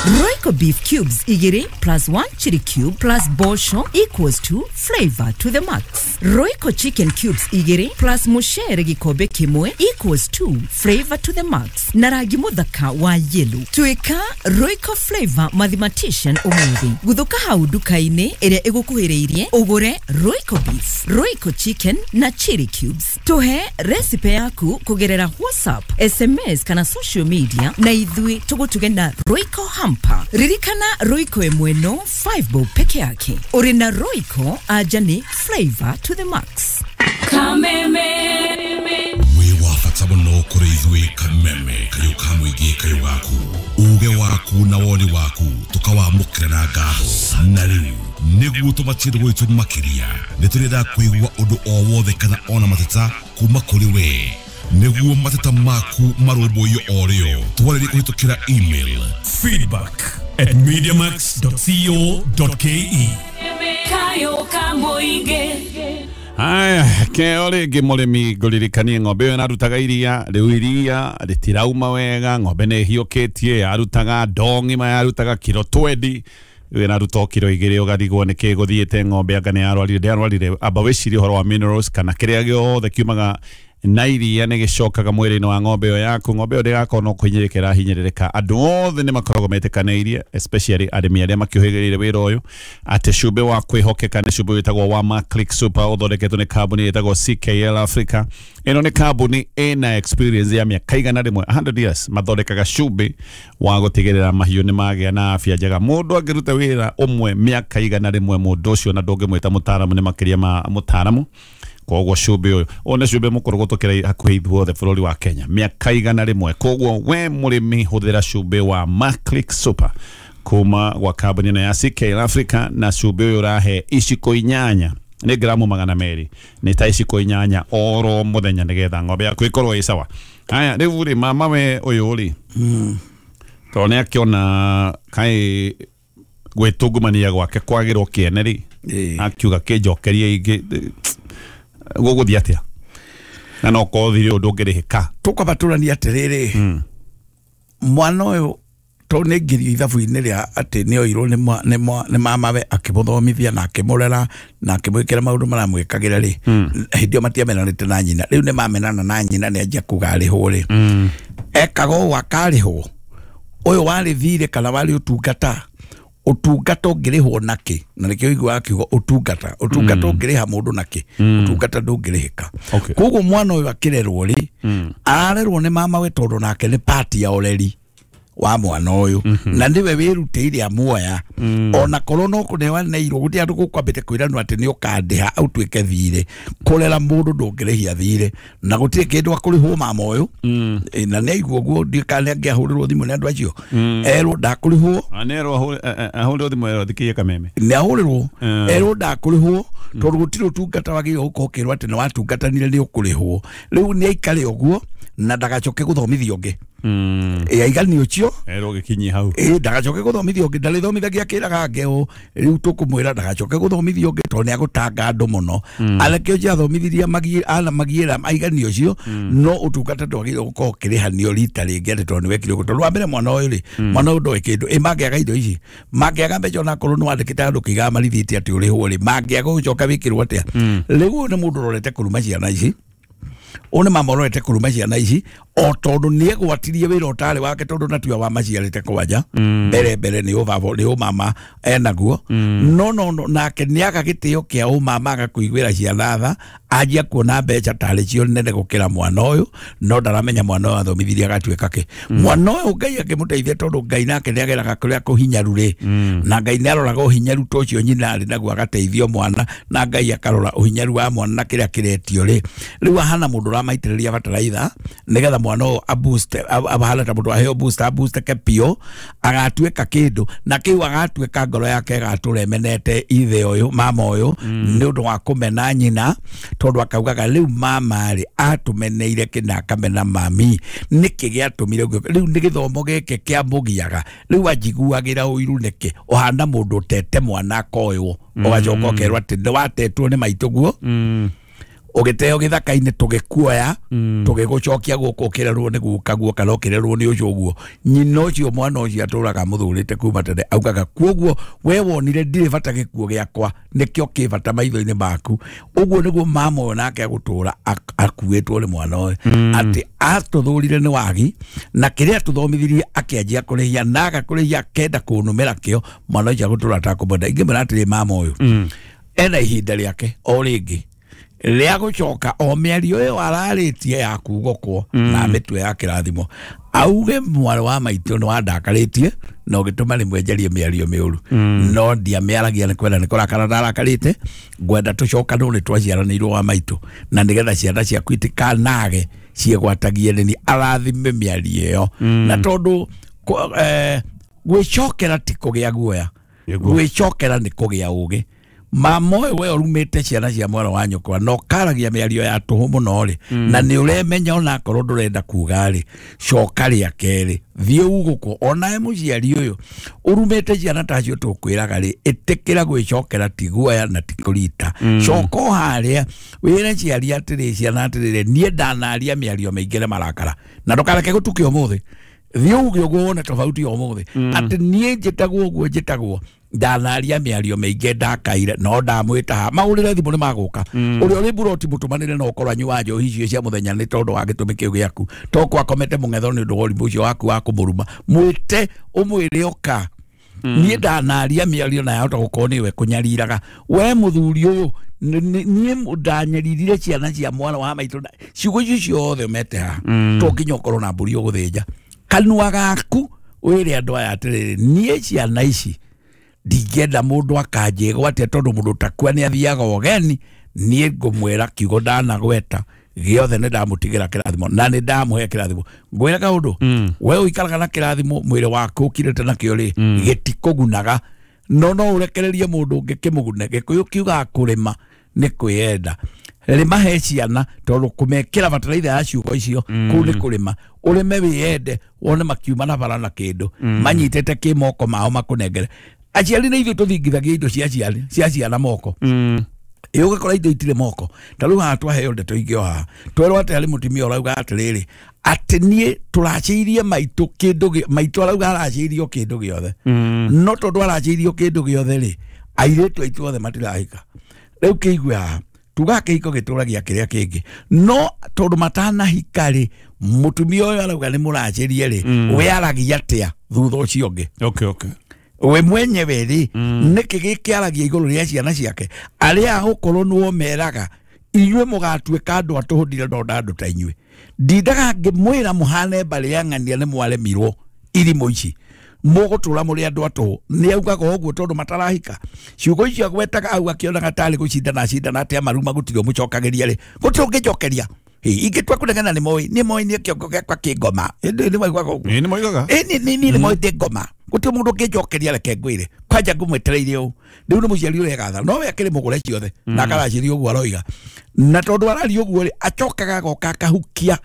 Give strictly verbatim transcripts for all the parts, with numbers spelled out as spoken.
Royco beef cubes igĩrĩ plus one chili cube plus bosho equals to flavor to the max. Royco chicken cubes igĩrĩ plus mucere gĩkombe kĩmwe equals to flavor to the max. Na rangi mũthaka wa yellow. Tuĩka Royco flavor mathematician ũmũthĩ. Gũthũka hau nduka-inĩ ĩrĩa ĩgũkuhĩrĩirie ũgũre Royco beef, Royco chicken na chili cubes. Tũhe recipe yaku kũgerera WhatsApp, S M S kana social media na ithuĩ tũgũtuge na Royco hamper. Ririkana Royco ĩmwe no five bob peke yake. Ũrĩ na Royco anja nĩ flavor to the max. Kameme wĩ wa bata mũno kũrĩ ithuĩ. Kameme kayũ ka mũingĩ kayũ gaku uge waku na woni waku tũkawamũkĩra na ngatho. Na rĩu nĩguo tũmatie gwitũ makĩria nĩ tũrenda kũigua ũndũ o wothe kana ona mateta kuma kũrĩ we nĩguo mateta maku marũmbũiyo o rĩo. Twarĩrie kũhĩtũkĩra email feedback at mediamax dot co dot ke. Kayo ka mũingĩ. Aya, keo rĩngĩ mũrĩmi ngũririkanie ng'ombe ĩyo ĩrarutaga iria, rĩu iria rĩtirauma wega, ng'ombe nĩ ĩhiũkĩtie, yarutaga ndoo ng'ima, yarutaga kiro twendi, rĩu ĩraruta o kiro igĩrĩ, ũgarigwo nĩkĩ gũthiĩte ng'ombe anga nĩ yarwarire, ndĩarwarire. Amba wĩcirie ũhoro wa minerals kana kĩrĩa gĩothe kiumaga na iria nĩ gĩcokaga mwĩrĩ-inĩ wa ng'ombe ĩyo yaku. Ng'ombe ĩyo ndĩgakorwo no kũhinyĩrĩrĩka ĩrahinyĩrĩrĩka. Andũ othe nĩ makoragwo metĩkanĩirie, especially arĩmi arĩa makĩũhĩgĩrĩire wĩra ũyũ, atĩ cumbĩ wa kwĩhokeka nĩ cumbĩ wĩtagwo wa Maclick Super, ũthondeketwo nĩ kambuni ĩtagwo C K L Africa. Ĩno nĩ kambuni ĩna experience ya mĩaka igana rĩmwe, a hundred years, mathondekaga cumbĩ wa gũtigĩrĩra mahiũ nĩ magĩa na afya njega. Mũndũ angĩruta wĩra ũmwe mĩaka igana rĩmwe, mũndũ ũcio na ndũngĩmwĩta mũtaaramu, nĩ makĩria ma mũtaaramu. Koguo cumbĩ ũyũ ũyũ nĩ cumbĩ mũkũrũ gũtũkĩra hakuhĩ ithuothe bũrũri wa Kenya mĩaka igana rĩmwe. Koguo we mũrĩmi hũthĩra cumbĩ wa Maclick Super kuma gwa kambuni ĩno ya C K L Africa, na cumbĩ ũyũ ũrahe iciko inyanya, nĩ gramu magana merĩ, nĩ ta iciko inyanya oro mũthenya nĩgetha ng'ombe yaku ĩkorwo ĩ sawa. Haya, rĩu rĩ mama we ũyũ rĩ tondũ nĩ akĩona kaĩ gwĩtungumania gwake kwagĩrwo kĩene rĩ, akiuga kĩnjokerie ingĩ gũgũthiĩ atĩa na no korwo thirĩ ũndũ ũngĩrĩhĩka. Tũkwamba tũranie atĩrĩrĩ, mwana ũyũ tondũ nĩ aingĩrio ithabu-inĩ rĩa atĩ nĩ oirwo nĩ mamawe akĩmũthomithia na akĩmũrera na akĩmwĩkĩra maũndũ maramwĩkagĩra rĩ, hĩndĩ ĩyo matiamenanĩte na nyina. Rĩu nĩ mamenana na nyina nĩ anjia kuga arĩhwo rĩ, ekaga ũũ akarĩhwo. Ũyũ warĩ thirĩ kana warĩ ũtungata, ũtungata ũngĩrĩhwo nakĩ? Na nĩkĩo ũiguaga kiugo ũtungata. Ũtungata ũngĩrĩha mũndũ nakĩ? Ũtungata ndũngĩrĩhĩka. Koguo mwana ũyũ akĩrerwo rĩ, ararerwo nĩ mamawe tondũ nake nĩ part ya ũreri wa mwana ũyũ, na nĩwe wĩrutĩire amuoya. Ona korwo no kũneaneirwo gũtirĩ andũ gũkwambĩte kwĩranwo atĩ nĩ ũkandĩha ũtuĩke thirĩ. Kũrera mũndũ ndũngĩrĩhia thirĩ, na gũtirĩ kĩndũ akũrĩhwo mama ũyũ. Na nĩ aigua ũguo ndiũĩ kana nĩ angĩahũrĩrwo thimũ nĩ andũ acio erwo ndakũrĩhwo. Nerwo ahũrĩrwo thimũ erwo thikĩrie Kameme, nĩ ahũrĩrwo erwo ndakũrĩhwo tondũ gũtirĩ ũtungata wagĩrĩirwo gũkorwo ũkĩrwo atĩ nĩ watungatanire nĩ ũkũrĩhwo. Rĩu nĩ aikare ũguo na ndagacoke gũthomithio ũngĩ. Ĩ aigani ũcio erwo gĩkinyie hau, ĩ ndagacoke gũthomithio ũngĩ, ndarĩthomithagia akĩraga angĩ ũũ. Rĩu tũkũmwĩra ndagacoke gũthomithio ũngĩ tondũ nĩ agũtanga andũ mũno. Anake ũcio athomithirie ana magiĩra aigani ũcio, no ũtungata ndwagĩrĩirwo gũkorwo ũkĩrĩhanio rita rĩngĩ atĩ tondũ nĩ wekire ũguo. Tondũ wa mbere mwana ũyũ rĩ, mwana ũyũ ndoĩ kĩndũ. Ĩ mangĩaga indo ici, mangĩaga mbeca onakorwo nĩ wandĩkĩte handũ kĩigaga marithiti atĩ ũrĩhwo rĩ, mangĩaga gũcoka wĩkĩrwo atĩa? Rĩu ũyũ nĩ mũndũ ũrorete kũruma ciana ici, ũyũ nĩ mama ũrorete kũruma ciana ici o tondũ nĩ egwatirie wĩra ũtarĩ wake, tondũ na tiwe wamaciarĩte kwanja mbere mbere nĩ ũbaba nĩ ũmama enaguo. No no no nake nĩ aga gĩtĩo kĩa ũmama agakũiguĩra ciana tha, anjia kuona mbeca tarĩ cio nene gũkĩra mwana ũyũ, no ndaramenya mwana ũyũ athomithirie agatuĩka kĩ. Mwana ũyũ Ngai akĩmũteithia tondũ Ngai nake nĩ ageraga kũrĩa kũhinyaru rĩ, na Ngai nĩ aroraga ũhinyaru ta ũcio nyina arĩ naguo agateithio mwana, na Ngai akarora ũhinyaru wa mwana na kĩrĩa kĩretio rĩ. Rĩu ahana mũndũ ũramaitĩrĩria bataraitha nĩgetha mwana ũyũ aboost, ahana ta mũndũ aheo boost, aboost ke piũ agatuĩka kĩndũ, na kĩu agatuĩka ngoro yake ĩgatũra ĩmenete ithe ũyũ mama ũyũ nĩ ũndũ wa kũmena nyina, tondũ akaugaga rĩu mama rĩ atũmeneire kĩna akamena mami, nĩkĩ gĩatũmire ũguo? Rĩu nĩ gĩthomo gĩkĩ kĩamũgiaga, rĩu anjiguagĩra ũiru nĩkĩ? Ũhana mũndũ ũtete mwana akoywo, ũgacoka ũkerwo atĩ nĩ watetwo nĩ maitũguo, Ũgĩteo gĩthaka-inĩ tũgĩkuoya tũgĩgũcokia gũkũ ũkĩrerwo nĩ gukaguo kana ũkĩrerwo nĩ ũcio ũguo. Nyina ũcio mwana ũcio atũraga mũthurĩte kuma tene augaga kuoguo we wonire ndirĩ bata gĩkuo gĩakwa nĩkĩo kĩ bata maitho-inĩ maku. Ũguo nĩguo mama ũyũ nake agũtũra akuĩtwo nĩ mwana ũyũ atĩ atũthũrire nĩ wagi na kĩrĩa atũthomithirie akĩanjia kũrĩhia na agakũrĩhia akenda kũnũmĩra kĩo mwana ũcio agũtũra atakũmwenda. Ingĩmwĩra atĩrĩ mama ũyũ ena ihinda rĩake o rĩngĩ rĩa gũcoka o mĩario ĩyo ararĩtie ya kugokwo na mĩtwe ya kĩrathimo auge mwarĩ wa maitũ nĩ wandakarĩtie na ũgĩtũma rĩmwe njarie mĩario mĩũru no ndiamĩaragia nĩ kwenda nĩ kũrakara ndarakarĩte ngwenda tũcokanwo nĩ twaciaranĩirwo wa maitũ na nĩgetha ciana ciaku itikanage ciĩgwatagie nĩ arathime mĩario ĩyo na tondũ gwĩcokera ti kũgĩa guoya gwĩcokera nĩ kũgĩa ũgĩ. Mama ũyũ we ũrumĩte ciana cia mwana wa nyũkwa na ũkaragia mĩario ya tũhũ mũno rĩ na nĩ ũremenya onakorwo ndũrenda kuga rĩ coka rĩa kerĩ thiĩ ugũkwo onawe mũciari ũyũ ũrumĩte ciana tacio tũkwĩraga rĩ ĩtĩkĩra gwĩcokera ti guoya na ti kũrita coka o harĩa wĩre ciari atĩrĩ ciana atĩrĩrĩ niĩ ndanaria mĩario mĩingĩ na marakara na ndũkareke gũtuke ũmũthĩ thiĩ uge ũguo wone tofauti ũmũthĩ atĩ niĩ njĩtagwo ũguo njĩtagwo ndanaria mĩario mĩingĩ ndakaire no ndamwĩta haha mahũrĩre thimũ nĩ magũka ũrĩa ũrĩ mburoti mũtũmanĩre no ũkorwo anyua njohi icio cia mũthenya nĩ tondũ wa gĩtũmi kĩu gĩaku to kwakomete mũng'etho nĩ ũndũ wa ũrimũ ũcio waku wa kũmũruma mwĩte ũmwĩre ũka niĩ ndanaria mĩario na yahota gũkorwo nĩwe kũnyariraga we mũthuri ũyũ niĩ ndanyaririre ciana cia mwana wa maitũ ciugo icio ciothe ũmete haha to nginya ũkorwo na mbũri ũgũthĩnja kanua gaku wĩre andũ aya atĩrĩrĩ niĩ ciana ici ndingĩenda mũndũ akanjĩgwatia tondũ mũndũ takua nĩ athiaga ũgeni niĩ ngũmwĩra kiugo ndanagweta gĩothe nĩ ndamũtigĩra kĩrathimo na nĩ ndamũhe kĩrathimo. Ngwĩra kaũndũ we ũikaraga na kĩrathimo mwĩrĩ waku ũkirĩte nakĩo rĩ gĩtikũgunaga no no ũrekererie mũndũ ũngĩ kĩmũgune. Gĩkũyũ kiugaga kũrĩma nĩ kwĩyenda rĩma he ciana tondũ kũmekĩra bataraitha ya ciugo icio kũu nĩ kũrĩma ũrĩme wĩyende wone makiuma na bara na kĩndũ manyitĩte kĩ moko mao makũnengere. Aciari nĩ ithuĩ tũthingithagia indo cia ciana cia ciana moko ĩ ũgakora indo itirĩ moko ta rĩu haha twaheo ndeto ingĩ o haha twerwo atĩ harĩ mũtumia ũrauga atĩrĩrĩ atĩ niĩ tũracĩirie maitũ kĩndũ maitũ arauga aracĩirio kĩndũ gĩothe no tondũ aracĩirio kĩndũ gĩothe rĩ airĩtu aitũ othe matirahika. Rĩu kĩigue haha tugaga kĩhiko gĩtũragia kĩrĩa kĩngĩ no tondũ matanahika rĩ mũtumia ũyũ arauga nĩ mũracĩrie rĩ we aragia atĩa thutha ũcio ũngĩ. Okay, okay. We mwenyewe rĩ nĩkĩ gĩkĩaragia igũrũ rĩa ciana ciake arĩa agũkorwo nĩo meraga inyuĩ mũgatuĩka andũ a tũhũ ndirenda andũ ta inyuĩ ndindaga ngĩmwĩra mũhane mbarĩ ya ng'ania nĩ mwaremirwo irimũ ici mũgũtũra mũrĩ andũ a tũhũ. Nĩ augaga ũguo tondũ matarahika ciugo icio agwetaga au akĩonaga tarĩ gũcindana acindana atĩ amaruma gũtirĩ ũmũcokagĩria rĩ gũtirĩ ũngĩnjokeria ingĩtua kũnegena nĩ moĩ nĩ moĩ niĩ kĩongo gĩakwa kĩ ngoma nĩ moigaga ũguo nĩ moigaga ĩ niĩ nĩ moĩ ndĩ ngoma gũtirĩ mũndũ ũngĩnjokeria reke ngwĩre kwanja ngũmwetereire ũũ rĩu nĩ mũciari ũregatha no we akĩrĩ mũgũre ciothe na akaracĩria ũguo aroiga na tondũ araria ũguo rĩ acokaga agoka akahukia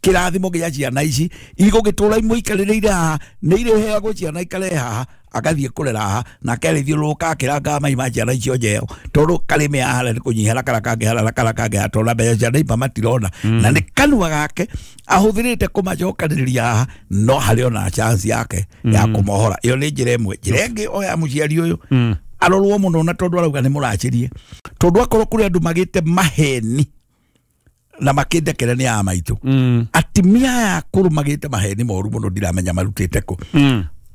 kĩrathimo gĩa ciana ici igũgĩtũra imũikarĩrĩire haha nĩ irĩheagwo ciana ikare haha agathiĩ kũrera haha nake arĩthiũrũrũka akĩrangaga mai ma ciana icio njeo tondũ karĩme haha nĩ kũnyiha na karĩa kangĩ harĩa na karĩa kangĩ haha tondũ mbeca cia neighbour matirona na nĩ kanua gake ahũthĩrĩte kũmacokanĩrĩria haha no harĩ ona chance yake ya kũmohora. Ĩyo nĩ njĩra ĩmwe. Njĩra ĩngĩ o ya mũciari ũyũ arorwo mũno na tondũ arauga nĩ mũracĩrie tondũ akorwo kũrĩ andũ magĩte maheni na makĩndekere nĩ a maitũ atimia aya akũrũ magĩte maheni moru mũno ndiramenya marutĩte kũ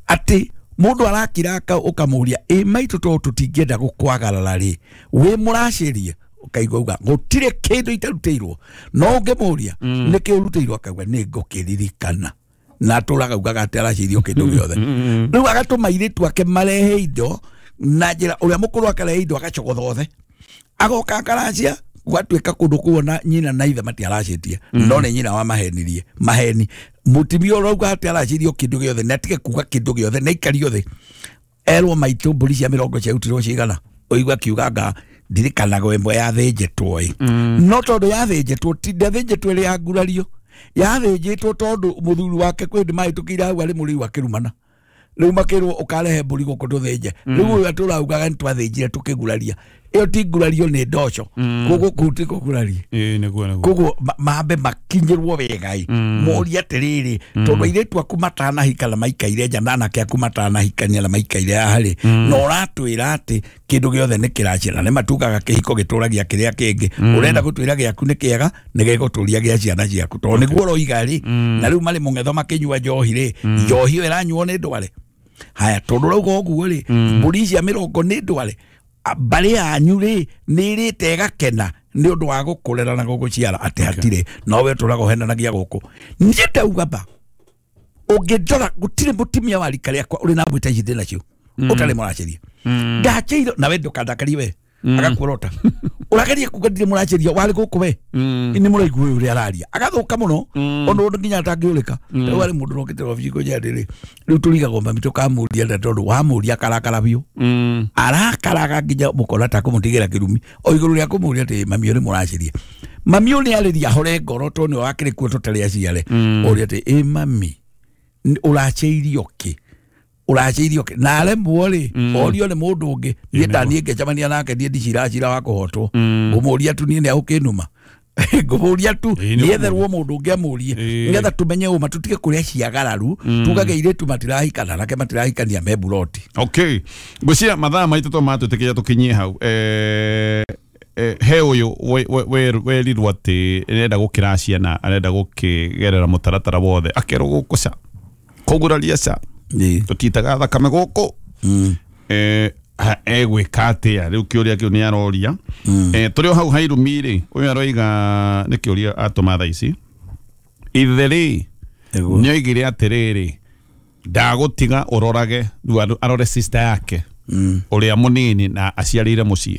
atĩ mũndũ arakira ũkamũria ĩ maitũ tondũ tũtingĩenda gũkwagarara rĩ wĩ mũracĩrie ũkaigua uga gũtirĩ kĩndũ itarutĩirwo no ũngĩmũria nĩkĩ ũrutĩirwo akauga nĩ ngũkĩririkana na atũraga ugaga atĩ aracĩirio kĩndũ gĩothe rĩu agatũma airĩtu ake marehe indo na njĩra ũrĩa mũkũrũ akarehe indo agacogotha othe agoka akaracia gwatuĩka kũndũ kuona nyina na ithe matiaracĩtie no nĩ nyina wamahenirie maheni mũtumia ũrauga atĩ aracĩirio kĩndũ gĩothe na atige kuga kĩndũ gĩothe na aikario thĩ erwo maitũ mbũri cia mĩrongo ciarutirwo cigana ũigua akiuga nga ndirikanaga ĩmwe yathĩnjĩtwo ĩ no tondũ yathĩnjĩtwo ti ndathĩnjĩtwo ĩrĩ ya ngurario yathĩnjĩtwo tondũ mũthuri wake kwĩ hĩndĩ mahĩtũkĩire hau arĩ mũrĩu akĩrumana rĩu makĩrwo ũkarehe mbũri gũkũ tũthĩnje rĩu ũyũ atũraugaga nĩ twathĩnjire tũkĩguraria Ĩyo ti ngurario nĩ ndoco. Koguo kũu ti kũguraria. Ĩĩ nĩguo nĩguo. Koguo mambe makinyĩrwo wega ĩ. Moria atĩrĩrĩ tondũ airĩtu aku matanahika na maikaire nja na anake aku matanahikania na maikaire haha rĩ na ũratwĩra atĩ kĩndũ gĩothe nĩ kĩracera nĩ matugaga kĩhiko gĩtũragia kĩrĩa kĩngĩ. Ũrenda gũtwĩra gĩaku nĩ kĩega nĩ gĩgũtũria gĩa ciana ciaku tondũ nĩguo ũroiga rĩ na rĩu marĩ mũng'etho makĩnyua njohi rĩ njohi ĩyo ĩranyuo nĩ ndware. Haya tondũ ũrauga ũguo rĩ mbũri cia mĩrongo nĩ ndware mbarĩ yanyu rĩ nĩ ĩrĩte ĩgakena nĩ ũndũ wa gũkũrera na gũgũciara atĩ hatirĩ no we ũtũraga ũhenanagia gũkũ. Niĩ ndauga ba ũngĩndora gũtirĩ mũtumia wa rika rĩakwa ũrĩ na mbũi ta ici ndĩ nacio ũtarĩ mũracĩria. Ndacĩirwo na we ndũkandakarie we agakuorota ũrageria kuga ndirĩ mũracĩria warĩ gũkũ we nĩ mũraigua ũyũ ũrĩa araria agathuka mũno ona ũndũ nginya atangĩũrĩka. Rĩu arĩ mũndũ ũrokĩte wabici kũnjĩra atĩrĩ rĩu tũrigagwo mami tũkamũria nda tondũ wamũria akarakara biũ arakaraga nginya mũkona ta kũmũtigĩra kĩrumi o igũrũ rĩa kũmũria atĩ mami ũyũ nĩ mũracĩria. Mami ũyũ nĩ arĩria hore ngoro tondũ nĩwe wakĩrĩ kuo tũtarĩ aciare ũria atĩ ĩ mami ũracĩirio kĩ ũracĩirio kĩ na aremwo rĩ orio nĩ mũndũ ũngĩ niĩ ndaniĩ ngĩcemania nake niĩ ndiciracira wa kũhotwo ngũmũria tu niĩ nĩ agũkĩnuma ngũmũria tu nĩetherwo mũndũ ũngĩ amũrie nĩgetha tũmenye ũma tũtige kũrĩa ciagararu tugage airĩtu matirahikana anake matirahikania me mburoti. Okay ngwĩciria mathaa maitũ to matwĩtĩkĩria tũkinyie hau. Eh he ũyũ werirwo atĩ arenda gũkĩra ciana arenda gũkĩgerera mũtaratara wothe akerwo gũkũ ca kũguraria ca tũtitaga thakame gũkũ eh egwĩka atĩa rĩu kĩũria kĩu nĩ aroria. Tũrĩ o hau hairumi rĩ ũyũ aroiga nĩ kĩũria atũma thaa ici ithe rĩ nĩoigire atĩrĩrĩ ndagũtiga ũrorage rĩu arore sister yake ũrĩa mũnini na aciarĩire mũciĩ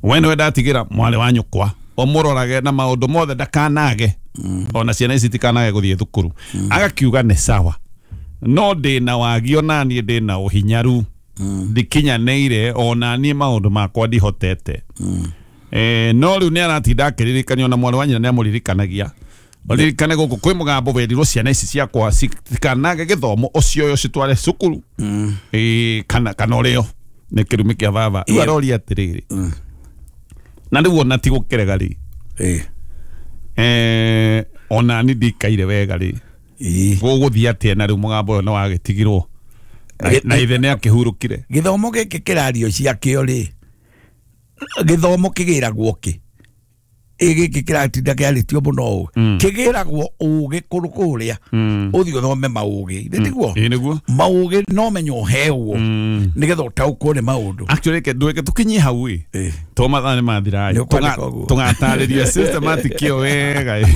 we nĩwe ndatigĩra mwarĩ wa nyũkwa ũmũrorage na maũndũ mothe ndakanage ona ciana ici itikanage gũthiĩ thukuru agakiuga nĩ sawa no ndĩna wagi ona niĩ ndĩna ũhinyaru ndikinyanĩire ona niĩ maũndũ makwa ndihotete. Eh no rĩu nĩ aratinda akĩririkanio na mwarĩ wa nyina nĩ amũririkanagia ũririkane gũkũ kwĩ mũgambo werirwo ciana ici ciakwa citikanage gĩthomo ũcioyo citware cukuru eh kana kana ũrĩo nĩ kĩrumi kĩa baba. Rĩu aroria atĩrĩrĩ na rĩu ona ti gũkĩrega rĩ eh ona niĩ ndikaire wega rĩ gũgũthiĩ atĩa na rĩu mũgambo ũyũ nĩ wagĩtigirwo na ithe nĩ akĩhurũkire. Gĩthomo gĩkĩ kĩrario ciakĩo rĩ gĩthomo kĩgĩragwo kĩ ĩ gĩkĩ kĩratinda kĩarĩtio mũno ũũ kĩgĩragwo ũgĩ kũrũ kũrĩa ũthiĩ ũthome maũgĩ nĩ tiguo maũgĩ no menye ũhewo nĩgetha ũtaũkwo nĩ maũndũ. Actually reke ndweke tũkinyie hau ĩ to mathaa nĩ mathira ĩ tũgatarĩria systematic ĩyo wega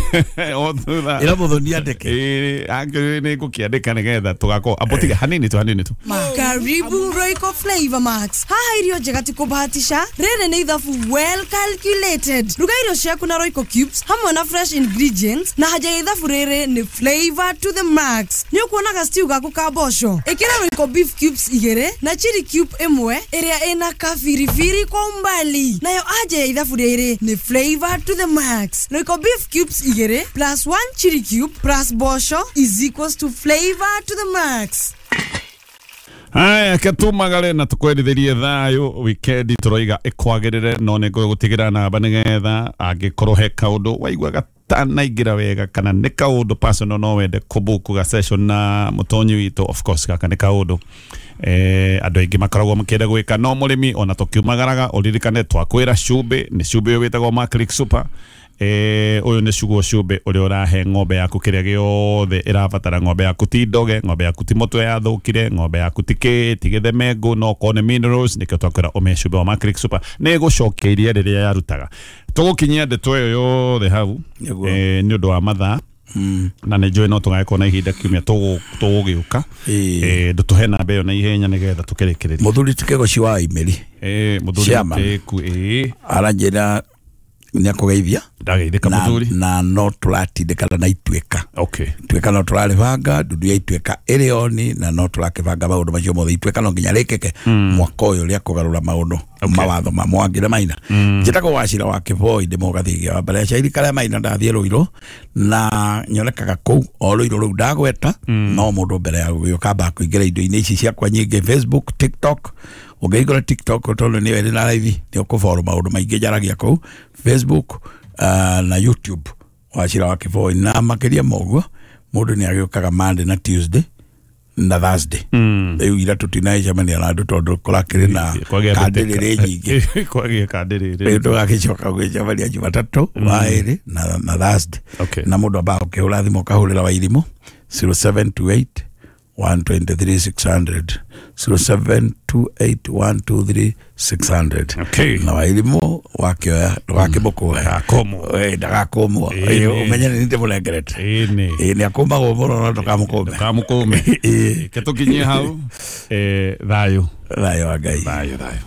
o thutha ĩra mũthoni andĩke ĩ actually nĩ ngũkĩandĩka nĩgetha tũgakorwo ambo tiga hanini tu hanini tu. Karibu Royco Flavor Max. Haha irio njega ti kũbahatisha rĩrĩ nĩ ithabu well calculated. Ruga irio ciaku na Royco cubes hamwe na fresh ingredients na haja ya ithabu rĩrĩ nĩ flavor to the max. Nĩ ũkuonaga stew gaku ka mboco ĩkĩra Royco beef cubes igĩrĩ na chili cube ĩmwe ĩrĩa ĩna kabiribiri kwa umbali nayo haja ya ithabu rĩrĩ nĩ flavor to the max. Royco beef cubes igĩrĩ plus one chili cube plus mboco is equals to flavor to the max. Haya ketumagare na tukwendithirie thayo weekend turoiga ikwagirire no nĩ ngũgũtigĩra namba nĩgetha angĩkorwo he kaũndũ waigua gatanaingĩra wega kana nĩ kaũndũ personal no wende kũbook ga session na mũtonyi witũ of course gaka nĩ kaũndũ eh andũ aingĩ makoragwo makĩenda gwĩka no mũrĩmi ona tũkiumagaraga ũririkane twakwĩra cumbĩ nĩ cumbĩ ũyũ wĩtagwo Maclick Super eh ũyũ nĩ cugo cumbĩ ũrĩa ũrahe ng'ombe yaku kĩrĩa gĩothe ĩrabatara. Ng'ombe yaku ti ndoge, ng'ombe yaku ti mũtwe yathũkire, ng'ombe yaku ti kĩ ti gĩthemengũ, no okorwo nĩ minerals nĩkĩo twakwĩra ũmĩhe cumbĩ wa Maclick Super nĩ ĩgũcokia iria rĩrĩa yarutaga. Tũgũkinyia ndeto ĩyo yothe hau eh nĩ ũndũ wa mathaa na nĩ njũĩ no tũgagĩkorwo na ihinda kiumia tũgũgĩũka eh ndũtũhe namba ĩyo na ihenya nĩgetha tũkĩrĩkĩrĩrie. Mũthuri ti Kĩgoci wa Imeri eh mũthuri Kĩku ĩĩ aranjĩra nĩ akũgeithia ndageithĩka mũthuri na no tũratindĩkana na ituĩka. Okay ituĩka no tũrarĩbanga ndundu ya ituĩka ĩrĩ oni na no tũrakĩbanga maũndũ macio mothe. Ituĩka no nginya rĩkĩke mwaka ũyũ rĩa kũgarũra maũndũ mawatho ma Mwangi na Maina. Njĩtagwo Wachira wa Kĩboi ndĩ mũgathĩgia wa mbere ya Cairi karĩa Maina ndathiĩ Rũirũ na nyonekaga kũu o Rũirũ rũu ndagweta no mũndũ mbere ya gũgĩũka amba kũingĩra indo-inĩ ici ciakwa nyingĩ Facebook, TikTok Ũngĩhingũra TikTok tondũ nĩyo ĩrĩ na live, nĩ ũkũboro maũndũ maingĩ njaragia kũu. Facebook uh, na YouTube Wachira wa Kĩboi. Na makĩria ma ũguo, mũndũ nĩ agĩũkaga Monday na Tuesday na Thursday. Rĩu ira tũtinagĩcemania na andũ tondũ kũrakĩrĩ na kandĩrĩrĩ nyingĩ. Kwagĩa kandĩrĩrĩ. Rĩu tũgagĩcoka gwĩcemania Jumatatũ, waĩrĩ na, na Thursday. Okay. Na mũndũ ambaga ũkĩhũra thimũ ũkahũrĩra Wairimũ zero seven two eight one two three six hundred, zero seven two eight one two three six hundred. Okay. Na Wairimũ wakĩoya ndũgakĩmũkũhe. Ndagakũmwo. Ĩĩ, ndagakũmwo. Ĩĩ. Ĩĩ, ũmenye nĩ ndĩmũnengerete. Ĩĩ. Ĩĩ, nĩ akũmagwo mũno no ndũkamũkũme. Ndũkamũkũme. Ĩĩ. Reke tũkinyie hau. Eh, thayũ. Thayũ wa Ngai. Thayũ, thayũ.